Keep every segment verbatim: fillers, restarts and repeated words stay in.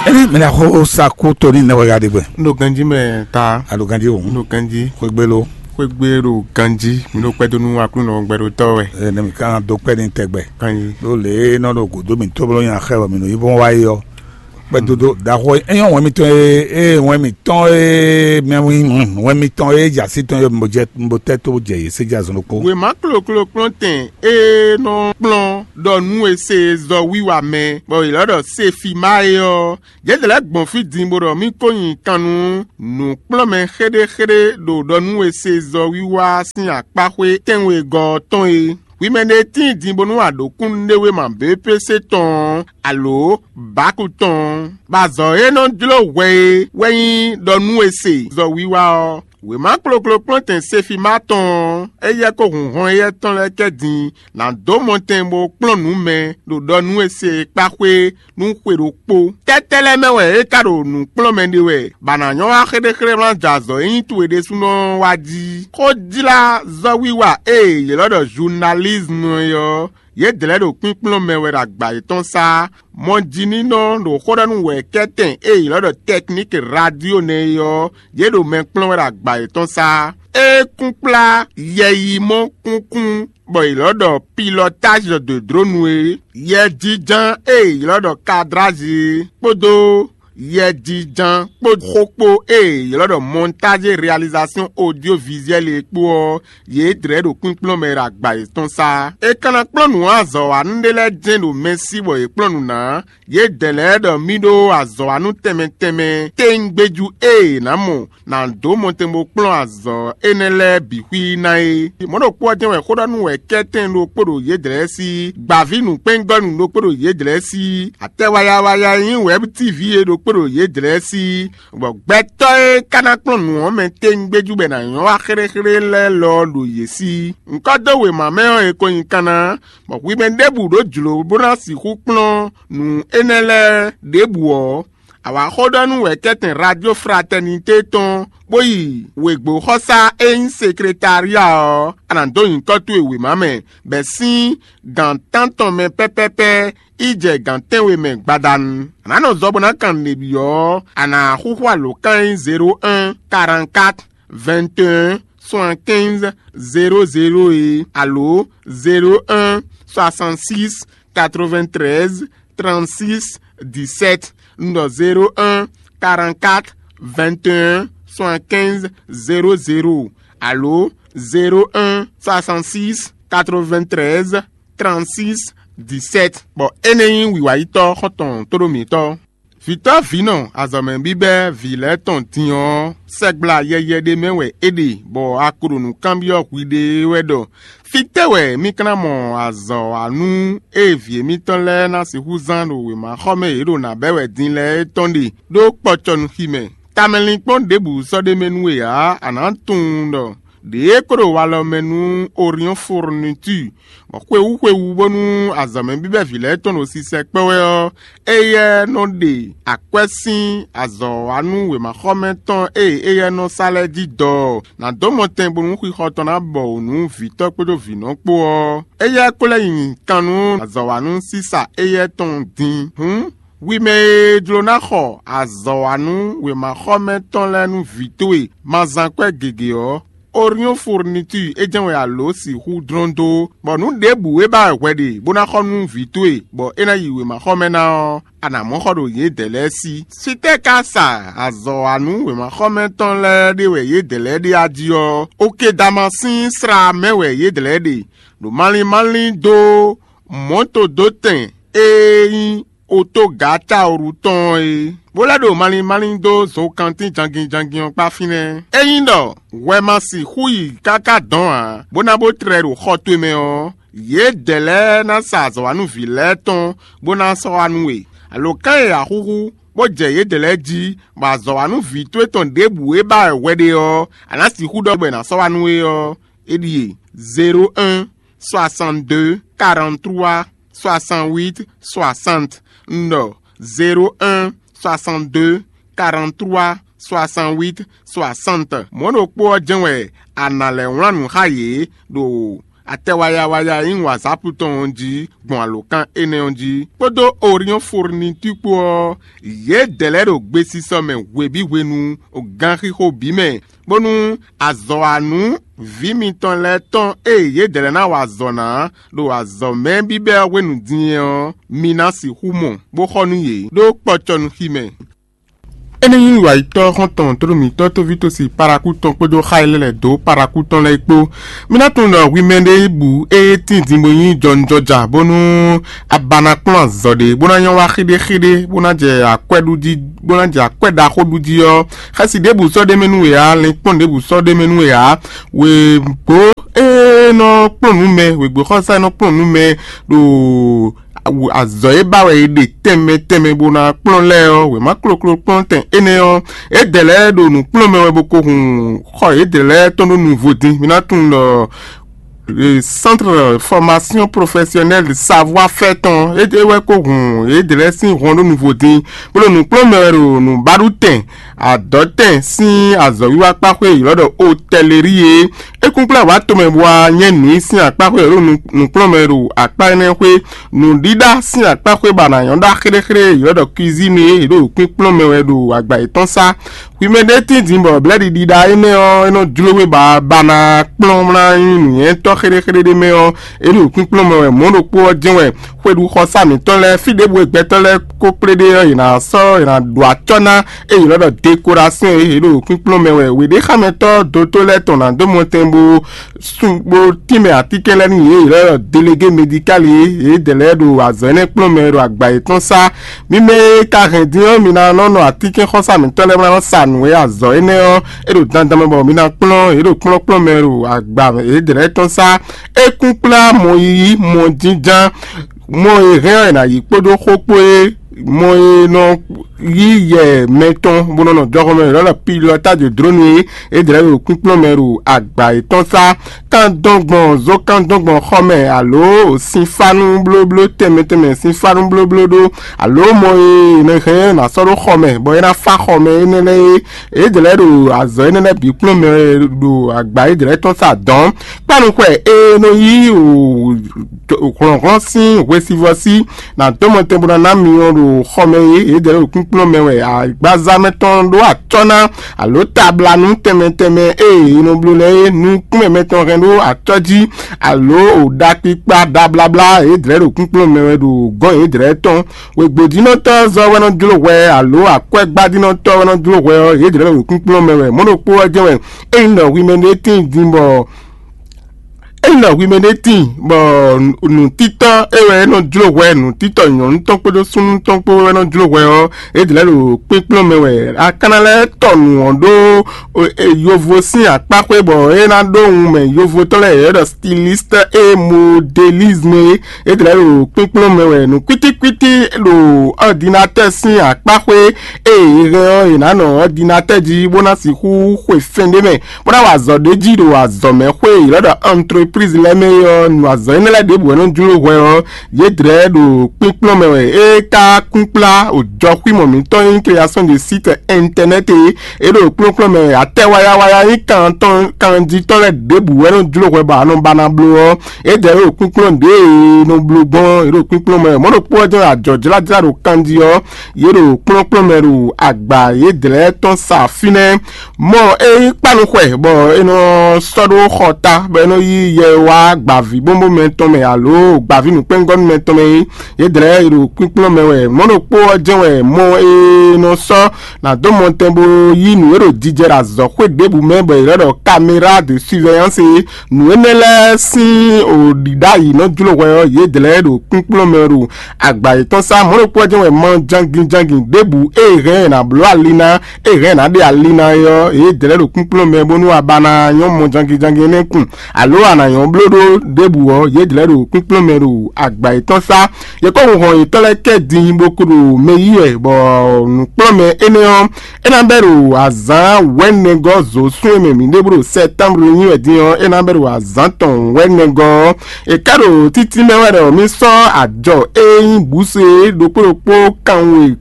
Emi mɛ ɖaxó Saku Toni nɛwɛga ɖe gbɛ. Un ɖo ganjí mɛ ta. A ɖo ganjí o. Un ɖo ganjí. Xwegbe lo. Xwegbe ɖo ganjí. Mi ɖo kpɛdó nú Aklúnɔ gbɛɖotɔ́ wɛ. Ɛ, ne mi kan do kpɛ ni tɛgbɛ. Ganjí. Ɖo lě e nɔ ɖo gǔdo mǐtɔn bló nya xɛ wɛ mǐ nɔ yi bɔn wá yi ɔ. Kpɛdodo ɖaxó e nyɔ wɛn mitɔn e e wɛn mitɔn e mɛ wɛn mitɔn e jɛ asi tɔn e mo jɛ mo tɛ to jɛ yě se jɛ azɔn ɖokpó. Wěma kloklo kplɔ́ntɛn e nɔ kplɔ́n ɖɔ nú e se zɔ wiwa mɛ, bɔ yě lɔ ɖɔ Sefima é ɔ́, yě lɛ́ gbɔn fí din bó ɖɔ mì ko nyi kan nú nǔkplɔ́nmɛ xéɖéxéɖé ɖo ɖɔ nú e se zɔ wiwa sín akpáxwé tɛ́nwegɔ́ ɔ́ tɔn é. Hwi mɛ ɖé tíin din bónú a ɖǒ kúnnu ɖé wéma běpése tɔn ɔ́, alǒ bǎku tɔn ɔ́, bɔ azɔ̌ e nɔ jló hwɛ é wɛ nyí ɖɔ nú e se zɔ wiwa ɔ́. Wěma kloklo kplɔ́ntɛn Sefima tɔn ɔ́, éyɛ́ kó hun hɔn éyɛ́ tɔn lɛ́ɛ kɛ din ná dó mɔtɛn bó kplɔ́n nǔ mɛ ɖo ɖɔ nú e se e kpá xwé nú xwe ɖokpó. Tɛ́tɛ́ lɛ́ɛ mɛ wɛ é ka ɖo nǔ kplɔ́n mɛ ɖe wɛ, bɔ a nǎ nyɔ́ wá xéɖéxéɖé wlán jɛ azɔ̌ e nyí towe ɖésúnɔ ɔ́ wá jí? Xó jlá zɔ́wiwa e yě lɔ́ ɖɔ zunalízmu é ɔ́, yědɛɛ ɖo kpínkplɔ́n mɛ wɛ ɖo agba yětɔn sá. Mɔjinínɔ ɖo xó ɖɔ nú wɛ̌kɛ́tɛn e yě lɔ́ ɖɔ tɛkníki radio nɛ́ é ɔ́, yě ɖo mɛ kplɔ́n wɛ ɖo agba yětɔn sá. É kún kplá yɛyimɔ kúnkún bɔ è lɔ́ ɖɔ pilɔtázi ɖo dǒdrónu é, yɛjínján e è lɔ́ ɖɔ kadrázi é, kpódó yɛjínján kpó xó kpó e è lɔ́ ɖɔ mɔntázi réalizasɔ́n odyovizuɛ́li é kpó ɔ́, yě dlɛ̌ ɖo kpínkplɔ́n mɛ ɖo agba yětɔn sá. È ka ná kplɔ́n nǔ azɔ̌wanú ɖé lɛ́ɛ jɛ́n ɖo mɛ sí bɔ yě kplɔ́n nǔ ná, yědɛɛ lɛ́ɛ ɖɔ mì ɖó azɔ̌wanú tɛnmɛ tɛnmɛ téŋgbéjú e è nǎ mɔ ná dó mɔtɛn bó kplɔ́n azɔ̌ énɛ́ lɛ́ɛ bǐ xwí ná é. Mɔ̌ ɖokpó ɔ́ jɛ́n wɛ xó ɖɔ nú wɛ̌kɛ́tɛn ɖokpó ɖo yědɛɛ sí, gbǎví nǔkpɛ́ngɔ́nú ɖokpó ɖo yědɛɛ sí, atɛ wayawaya e nyí wɛ̌b tívi é ɖokpó ɖo yědɛɛ sí, bɔ gbɛtɔ́ e ka ná kplɔ́n nǔ ɔ́ mɛ téŋgbéjú bɔ è nǎ nyɔ́ wá xéɖéxéɖé lɛ́ɛ lɔ ɔ́ ɖo yě sí. Ŋkɔ́ dó wěma mɛ ɔ́, è ko nyi kan ná, bɔ hwi mɛ ɖěbǔ ɖó jlǒ bó ná sixú kplɔ́n nǔ énɛ́ lɛ́ɛ ɖěbǔ ɔ́, a wǎ xó ɖɔ nú wɛ̌kɛ́tɛn Radio Fraternité tɔn, bó yi wěgbóxɔsá e nyí sekretária ɔ́, a nǎ dó nyǐkɔ towe wěma mɛ, bɔ è sín gǎn tántɔn mɛ pɛ́pɛ́pɛ́ yi jɛ gǎn tɛ́nwe mɛ gbadanu. A nǎ nɔ zɔ bó ná kan nǔɖé byɔ́ ɔ́, a nǎ xúxú alǒkan e nyí zéro un, quarante-quatre, vingt et un, soixante-quinze, zéro zéro é, alo zéro un, soixante-six, quatre-vingt-treize, trente-six, dix-sept, un ɖɔ zéro un, quarante-quatre, vingt et un, soixante-quinze, zéro zéro, alo zéro un, soixante-six, quatre-vingt-treize, trente-six, dix-sept. Bɔ énɛ́ nyí wǐwayítɔ́ xɔ́ntɔn tóɖó mǐtɔn. Vǐtɔ́ vǐnɔ azɔ̌mɛ bíbɛ́ vǐ lɛ́ɛ tɔn din ɔ́, sɛgbla yɛyɛ ɖé mɛ wɛ é ɖe, bɔ a ko ɖo nǔ kanbyɔ́ hwiɖée wɛ ɖɔ: fítɛ́ wɛ mì ka ná mɔ azɔ̌wanú e vǐ émítɔn lɛ́ɛ ná sixú zán ɖo wěmaxɔmɛ e yě ɖo nǎ bɛ́ wɛ din lɛ́ɛ é tɔn ɖe ɖó kpɔcɔnuxi mɛ? Tamɛlinkpɔ́n ɖěbǔ sɔ́ ɖ'é mɛ nú we ǎ; a nǎ tunwun ɖɔ ɖě e kó ɖo walɔ mɛ nú Oriɔ́n Fourniture, bɔ xwewú xwewú bónú azɔ̌mɛ bíbɛ́ vǐ lɛ́ɛ tɔn ɖo sisɛ kpɛ́ wɛ ɔ́, éyɛ́ nɔ ɖe akwɛ́ sín azɔ̌wanú wěmaxɔmɛ tɔn e éyɛ́ nɔ sa lɛ́ɛ jí dɔ ɔ́, nǎ dó mɔtɛn bónú xixɔ tɔn ná bɔ wǔ nú vǐtɔ́ kpódó vǐnɔ kpó ɔ́, éyɛ́ ko lɛ́ nyi kan nú azɔ̌wanú sísa éyɛ́ tɔn din. Hǔn, hwi mɛ e jló ná xɔ azɔ̌wanú wěmaxɔmɛ tɔn lɛ́ɛ nú vǐ towe ma zán kwɛ́ gěgé ɔ́, Oriɔ́n Fourniture é jɛ́n wɛ a lǒ sixú dlɔ́n dó, bɔ nǔ ɖěbǔ e ba wɛ hwɛ ɖe bó ná xɔ nú vǐ towe, bɔ é ná yi wěmaxɔmɛ ná ɔ́, a nǎ mɔ xɔ ɖo yědɛɛ lɛ́ɛ sí. Sitɛ́ ka sa azɔ̌wanú wěmaxɔmɛ tɔn lɛ́ɛ ɖe wɛ yědɛɛ lɛ́ɛ ɖe a jí ɔ́, Okedama sín sla mɛ wɛ yědɛɛ lɛ́ɛ ɖe, ɖo malín malín dó mɔ̌todótɛn e nyí otógǎtaoru tɔn ɔ́ é, bó lɛ́ ɖo malín malín dó zokantín jangin jangin ɔ́ kpá fínɛ́. Ényí ɖɔ hwɛ ma sixú yi káká dɔ̌n ǎ, bó ná bó tlɛ ɖo xɔ towe mɛ ɔ́, yědɛɛ lɛ́ɛ ná sa azɔ̌wanúví lɛ́ɛ tɔn bó ná sɔ́ wá nú we. Alǒkan e a xúxú, bó jɛ yědɛɛ lɛ́ɛ jí, bɔ azɔ̌wanúví towe tɔn ɖěbǔ e ba wɛ hwɛ ɖe ɔ́, a nǎ sixú ɖɔ bɔ è nǎ sɔ́ wá nú we ɔ́, é ɖíe: zéro un, soixante-deux, quarante-trois, soixante-huit, soixante. Un ɖɔ zéro un, soixante-deux, quarante-trois, soixante-huit, soixante. Mɔ̌ ɖokpó ɔ́ jɛ́n wɛ a nǎ lɛ́ wlán nǔ xá yě ɖo Atɛ wayawaya e nyí wǎzápu tɔn ɔ́ jí gbɔn alǒkan énɛ́ ɔ́ jí, kpódó Oriɔ́n Furnitúr kpó ɔ́, yědɛɛ lɛ́ɛ ɖo gbesisɔ mɛ hweví hwenu ganxixo bǐ mɛ, bónú azɔ̌wanú vǐ mitɔn lɛ́ɛ tɔn e yědɛɛ lɛ́ɛ ná wa azɔ̌ ná ɖo azɔ̌mɛ bíbɛ́ ɔ́ hwenu din ɔ́, mi ná sixú mɔ, bó xɔ nú yě ɖó kpɔcɔnuxi mɛ. Énɛ́ nyí wǎyítɔ́ xɔ́ntɔn tlóló mǐtɔn tóví tosi Parakú tɔn kpódó xá e lɛ́ lɛ̌ dó Parakú tɔn lɛ́ɛ kpó. Mi ná tunwun ɖɔ hwi mɛ ɖé bǔ e tín din bó nyí jɔnjɔja bónú a ba ná kplɔ́n azɔ̌ ɖé bó ná nyɔ́ wá xíɖéxíɖé bó ná jɛ akwɛ́ ɖu jí, bó ná jɛ akwɛ́ ɖaxó ɖu jí ɔ́, xɛsi ɖěbǔ sɔ́ ɖ'é mɛ nú we ǎ, linkpɔ́n ɖěbǔ sɔ́ ɖ'é mɛ nú we ǎ. Wěgbó e nɔ kplɔ́n nǔ mɛ, wěgbó xɔ́sá e nɔ kplɔ́n nǔ mɛ ɖo azɔ̌ e ba wɛ è ɖe tɛnmɛ tɛnmɛ bó ná kplɔ́n lɛ́ɛ ɔ́, wěma kloklo kplɔ́n tɛn énɛ́ ɔ́, yědɛɛ lɛ́ɛ ɖo nǔ kplɔ́n mɛ wɛ bó ko hun xɔ yědɛɛ lɛ́ɛ tɔn ɖó nǔvo dín. Mi ná tunwun ɖɔ le Centre Formation Professionnelle de Savoir Faire tɔn é wɛ ko hun yědɛɛ lɛ́ɛ sín hɔn ɖó nǔvo dín, bó ɖo nǔ kplɔ́n mɛ wɛ ɖo nǔbaɖutɛn adɔ̌tɛn sín azɔ̌wiwa kpáxwé ylɔ́ ɖɔ hôtellerie é. É kún kplá wǎ tomɛ bó wá nyɛ́ nǔ nyi sín akpáxwé ylɔ́ ɖo nǔkplɔ́nmɛ ɖo akpá énɛ́ xwé. Nǔɖíɖá sín akpáxwé ba ná nyɔ́ ɖó axéɖéxéɖé ylɔ́ ɖɔ cuisine é, yě ɖo kpínkplɔ́n mɛ wɛ ɖo agba yětɔn sá. Hwi mɛ ɖé tín din bɔ blɛ̌ɖiɖiɖa énɛ́ ɔ́, é nɔ jló we ba ba ná kplɔ́n ná nyí nǔnywɛ́tɔ́ xéɖéxéɖé ɖé mɛ ɔ́, é ɖo kpínkplɔ́n mɛ wɛ. Mɔ̌ ɖokpó ɔ́ jɛ́n wɛ, xwe ɖu xɔsá mǐtɔn lɛ́ɛ, fí ɖěbǔ e gbɛtɔ́ lɛ́ɛ ko kplé ɖe ɔ́, yě ná sɔ́, yě ná ɖo acɔ́ ná, ée yě nɔ ɖɔ dekorasyɔn e yě ɖo kpínkplɔ́n mɛ wɛ. Wěɖéxámɛtɔ́ dotó lɛ́ɛ tɔn ná dó mɔtɛn bó sun bó tínmɛ atínkɛn lɛ́ɛ nú yě, yě nɔ ɖɔ delégé medikál e yědɛɛ lɛ́ɛ ɖo azɔ̌ énɛ́ kplɔ́n mɛ ɖo agba yětɔn sá. Mi mɛ e ka hɛn din ɔ́, mi ná nɔ nɔ atínkɛnxɔsá mǐtɔn lɛ́ɛ bó ná nɔ sa nǔ e azɔ̌ énɛ́ ɔ́, é ɖo dandan mɛ bɔ mi ná kplɔ́n, yě ɖo kplɔ́nkplɔ́n mɛ ɖo agba yědɛɛ lɛ́ɛ tɔn sá. É kún kplá mɔ yiyi, mɔ jínján, mɔ e hɛn ɔ́ è nǎ yí kpódó xó kpó é, mɔ e nɔ yí yɛ mɛtɔn bó nɔ nɔ jɔxɔ mɛ lɔ́ ɖɔ pilɔtájo dlónu é, é dlɛ̌ ɖo kpínkplɔ́n mɛ ɖo agba yětɔn sá. Kan dɔn gbɔn zó kan dɔn gbɔn xɔ mɛ, alo sinfánú blóbló tɛnmɛ tɛnmɛ sinfánú blóbló ɖó, alo mɔ e è nɔ hɛn ná sɔ́ ɖó xɔ mɛ bɔ é ná fá xɔ mɛ énɛ́ lɛ́ɛ é, é dlɛ̌ ɖo azɔ̌ énɛ́ lɛ́ɛ bǐ kplɔ́n mɛ ɖo agba é dlɛ̌ tɔn sá dɔn. Kpánu xwɛ e nɔ yí hlɔ̌nhlɔ́n sín hwesivɔ́ sí nǎ dó mɔtɛn bó ná ná myɔ ɖo xɔ mɛ e yědɛɛ ɖo kúnkplɔ́n mɛ wɛ agbaza mɛtɔn ɖó acɔ́ ná, alo tablanu tɛnmɛ tɛnmɛ e è nɔ bló lɛ́ɛ é, nukúnmɛ mɛtɔn hɛn ɖó acɔ́ jí, alo ɖakpikpa ɖabláblá yědɛɛ ɖo kúnkplɔ́n mɛ wɛ ɖo gɔ́n yědɛɛ tɔn. Wěgbodínɔtɔ́ zɔ́ wɛ nɔ jló hwɛ, alo akwɛ́gbádínɔtɔ́ wɛ nɔ jló hwɛ ɔ́, yědɛɛ ɖo kúnkplɔ́n mɛ wɛ. Mɔ̌ ɖokpó ɔ́ jɛ́n wɛ, ényí ɖɔ hwi mɛ ɖé tíin din bɔ Ényí ɖɔ hwi mɛ ɖé tíin bɔ nǔtítɔ́ é wɛ é nɔ jló hwɛ, nǔtítɔ́ nyɔ̌nu tɔn kpódó súnnu tɔn kpó wɛ nɔ jló hwɛ ɔ́, é dlɛ̌ ɖo kpínkplɔ́n mɛ wɛ. A ka ná lɛ́ tɔ nǔ ɔ́ ɖó yovo sín akpáxwé bɔ é ná ɖó wun mɛ yovotɔ́ lɛ́ɛ yě ɖɔ stiliste et modélisme é. É dlɛ̌ ɖo kpínkplɔ́n mɛ wɛ. Nǔ kwítíkwítí ɖo ɔ́dinatɛ́ sín akpáxwé e è hɛn ɔ́, è nǎ nɔ ɔ́dinatɛ́ jí bó ná sixú xwe fɛn ɖé mɛ bó ná wa azɔ̌ ɖé jí ɖo azɔ̌mɛxwé e ylɔ́ ɖɔ entreprise lɛ́ɛ mɛ é ɔ́, nu azɔ̌ énɛ́ lɛ́ɛ ɖěbǔ wɛ nɔ jló hwɛ ɔ́, yědɛɛ ɖo kpínkplɔ́n mɛ wɛ. É ka kún kplá òjɔxwímɔ mǐtɔn e nyí création de site internet é, é ɖo kplɔ́nkplɔ́n mɛ wɛ. Atɛ wayawaya nyí kan tɔn kanjitɔ́ lɛ́ɛ ɖěbǔ wɛ nɔ jló hwɛ bɔ a nɔ ba ná bló ɔ́, yědɛɛ ɖo kpínkplɔ́n ɖě e nɔ bló gbɔn é ɖo kpínkplɔ́n mɛ wɛ. Mɔ̌ ɖokpó ɔ́ jɛ́n ajɔ̌jlájlá ɖo kanjí ɔ́, yě ɖo kplɔ́nkplɔ́n mɛ ɖo agba yědɛɛ tɔn sa fínɛ́. Mɔ é nyí kpánu xwɛ bɔ é nɔ sɔ́ ɖó xɔ ta bɔ é nɔ yí yɛ wá gbavǐ bónbó mɛ tɔn mɛ alo gbavǐ nǔkpɛ́ngɔ́nú mɛ tɔn mɛ é. Yědɛɛ ɖo kpínkplɔ́n mɛ wɛ. Mɔ̌ ɖokpó ɔ́ jɛ́n wɛ mɔ e nɔ sɔ́ nǎ dó mɔtɛn bó yí nǔ e ɖo jijɛ ɖo azɔ̌xwé ɖěbǔ mɛ bɔ è lɛ́ ɖɔ caméra de surveillance é. Nǔ énɛ́ lɛ́ɛ sín ɖiɖáyi nɔ jló hwɛ ɔ́, yědɛɛ ɖo kpínkplɔ́n mɛ ɖo agba yětɔn sá. Mɔ̌ ɖokpó ɔ́ jɛ́n wɛ mɔ jangin jangin ɖěbǔ e hɛn è nǎ bló ali ná, e hɛn è nǎ ɖe ali ná é ɔ́, yě dlɛ̌ ɖo kpínkplɔ́n mɛ bónú a ba ná nyɔ́ mɔ jangin jangin énɛ́ kun, alo a nǎ nyɔ́ bló ɖó ɖěbǔ ɔ́, yě dlɛ̌ ɖo kpínkplɔ́n mɛ ɖo agba yětɔn sá. Yě kɔ hun hɔn yětɔn lɛ́ɛ kɛ din bó kú ɖo mɛ yí wɛ, bɔ nǔkplɔ́nmɛ énɛ́ ɔ́, é ná bɛ́ ɖo azǎn wɛ̌nɛgɔ́ zǒsún e mɛ mǐ ɖe bó ɖo sɛ́támble nyí wɛ din ɔ́, é ná bɛ́ ɖo azǎn tɔn wɛ̌nɛgɔ́ ɔ́. È ká ɖo títí mɛ wɛ ɖɔ mì sɔ́ ajɔ e nyí bǔsu é ɖokpó ɖokpó kanwe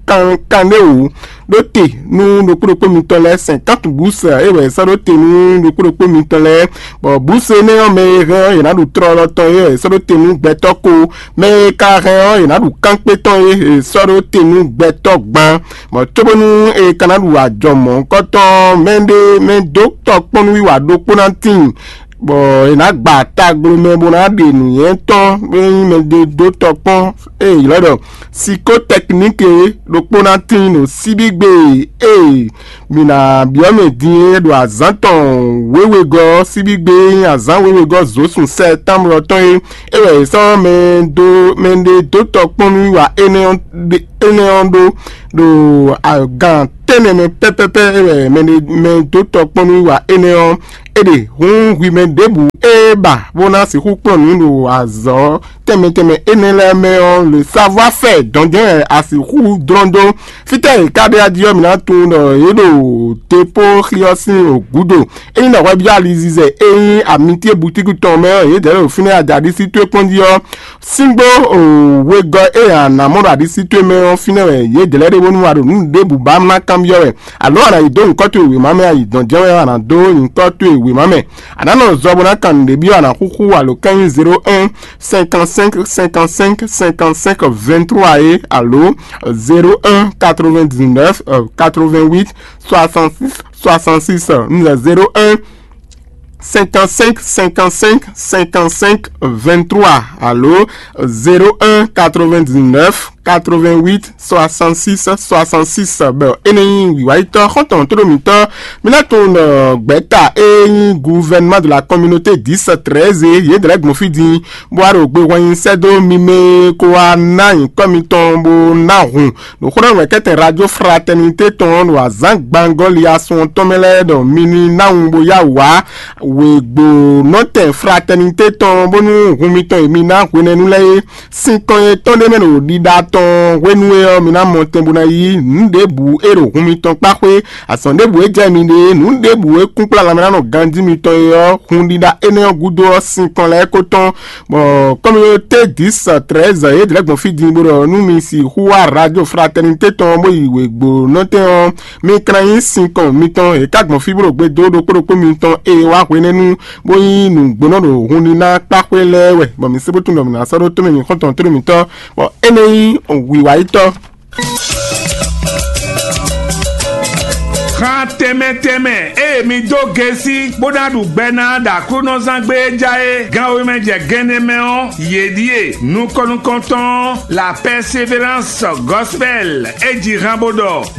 kankanɖéwǔ ɖó te nú ɖokpó ɖokpó mitɔn lɛ́ɛ, sɛn kantun bǔsɛ é wɛ è sɔ́ ɖó te nú ɖokpó ɖokpó mitɔn lɛ́ɛ. Bɔ bǔsɛ énɛ́ ɔ́, mɛ e hɛn ɔ́, yě ná ɖu tlɔlɔ tɔn é è sɔ́ ɖó te nú gbɛtɔ́ ko. Mɛ e ka hɛn ɔ́, yě ná ɖu kángbé tɔn é è sɔ́ ɖó te nú gbɛtɔ́ gban. Bɔ cóbónú è ka ná ɖu ajɔ mɔ̌hunkɔtɔn, mɛ ɖé mɛ dó tɔkpɔ́núwiwa ɖokpó ná tíin, bɔ è nǎ gba tagblomɛ bó ná ɖe nǔnywɛ́ tɔn, bó nyí mɛ ɖé dó tɔkpɔ́n e è ylɔ́ ɖɔ sikótɛkník é ɖokpó ná tíin ɖo síbígbe e mǐ ná byɔ́ mɛ din é ɖo azǎn tɔn wěwegɔ́, síbígbe e nyí azǎn wěwegɔ́ zǒsun sɛ́ támlɔ tɔn é. É wɛ è sɔ́ mɛ dó mɛ ɖé dó tɔkpɔ́núwiwa énɛ́ ɔ́ ɖe- énɛ́ ɔ́ ɖó ɖo agán tɛ́nnɛ mɛ pɛ́pɛ́pɛ́. É wɛ mɛ ɖé mɛ dó tɔkpɔ́núwiwa énɛ́ ɔ́, é ɖe hǔn hwi mɛ ɖěbǔ e ba bó ná sixú kplɔ́n nǔ ɖo azɔ̌ tɛnmɛ tɛnmɛ énɛ́ lɛ́ɛ mɛ ɔ́, le savoir-faire dɔn jɛ́n wɛ a sixú dlɔ́n dó. Fítɛ́ è ka ɖe ají ɔ́, mǐ ná tunwun ɖɔ yě ɖo depóxi ɔ́ sín gǔdo. Ényí ɖɔ hwɛbyɔ́ alizizɛ e nyí amitié butíku tɔn mɛ ɔ́, yědɛɛ ɖo fínɛ́ ajaɖisí towe kpɔ́n jí ɔ́, síngbó wegɔ́ e a nǎ mɔ ɖo aɖisí towe mɛ ɔ́, fínɛ́ wɛ yědɛɛ lɛ́ɛ ɖe bónú a ɖo nǔ ɖěbǔ ba ná kanbyɔ́ wɛ. Alo a nǎ yi dó nyǐkɔ towe wěma mɛ, a yi dɔn jɛ́n wɛ a nǎ dó nyǐkɔ towe wěma mɛ. A nǎ nɔ zɔ bó ná kan nǔɖé byɔ́, a nǎ xúxú alǒkan nyí zéro un cinquante-cinq cinquante-cinq cinquante-cinq vingt-trois é, alo zéro un quatre-vingt-dix-neuf quatre-vingt-huit soixante-six soixante-six, un zéro un cinquante-cinq cinquante-cinq cinquante-cinq vingt-trois, alo zéro un quatre-vingt-dix-neuf quatre-vingt-huit soixante-six soixante-six. Bɔ énɛ́ nyí wǐwáyítɔ́ xɔ́ntɔn tóɖómítɔ́. Mǐ ná tunwun ɖɔ gbɛ̌ta e nyí gouvernement de la communauté dix treize, yě dlɛ̌ gbɔn fí din bó wá ɖo gbe hwɛnyi sɛ́ dó mi mɛ e ko wá ná nyǐkɔ mitɔn bó ná hun ɖo xó ɖɔ wɛ̌kɛ́tɛn Radio Fraternité tɔn ɖo azǎn gbangɔ́li asɔn tɔn mɛ lɛ́ɛ ɖɔ mi ní ná wun bó yá wǎ wěgbónɔtɛn Fraternité tɔn, bónú hun mitɔn e mi ná hwenɛ́nu lɛ́ɛ é. Sinkɔn e tɔn ɖé mɛ ɖo ɖiɖa tɔn hwenu e ɔ́, mi ná mɔ tɛn bó ná yí nǔ ɖěbǔ e ɖo hun mitɔn kpá xwé. Azɔn ɖěbǔ e jɛ mi ɖe, nǔ ɖěbǔ e kún kplá lanmɛ ná nɔ ganjí mitɔn e ɔ́, hun ɖiɖa énɛ́ ɔ́ gúdo ɔ́, sinkɔn lɛ́ɛ ko tɔn. Bɔ communauté dix treize yě dlɛ̌ gbɔn fí din bó ɖɔ nú mi sixú wá Radio Fraternité tɔn bó yi wěgbónɔtɛn ɔ́, mi ka ná nyí sinkɔn mitɔn e ka gbɔn fí bó ɖo gbe dó ɖokpó ɖokpó mitɔn e wá hwenɛ́nu bó nyí nǔgbónɔ ɖo hun ní ná kpá xwé lɛ́ɛ wɛ, bɔ mi se bó tunwun ɖɔ mi ná sɔ́ ɖó tómɛ mi xɔ́ntɔn tónú mitɔn, bɔ énɛ́ nyí wǐwáyítɔ́. Xan tɛnmɛ tɛnmɛ eye mi dó gesi bó ná ɖu gbɛ ná ɖo Aklúnɔzán gbé e ja é gan wemɛ jɛ gɛnɛ mɛ ɔ́, yě ɖíe nukɔn nukɔntɔn La Persévérance Gospel e ji han bó ɖɔ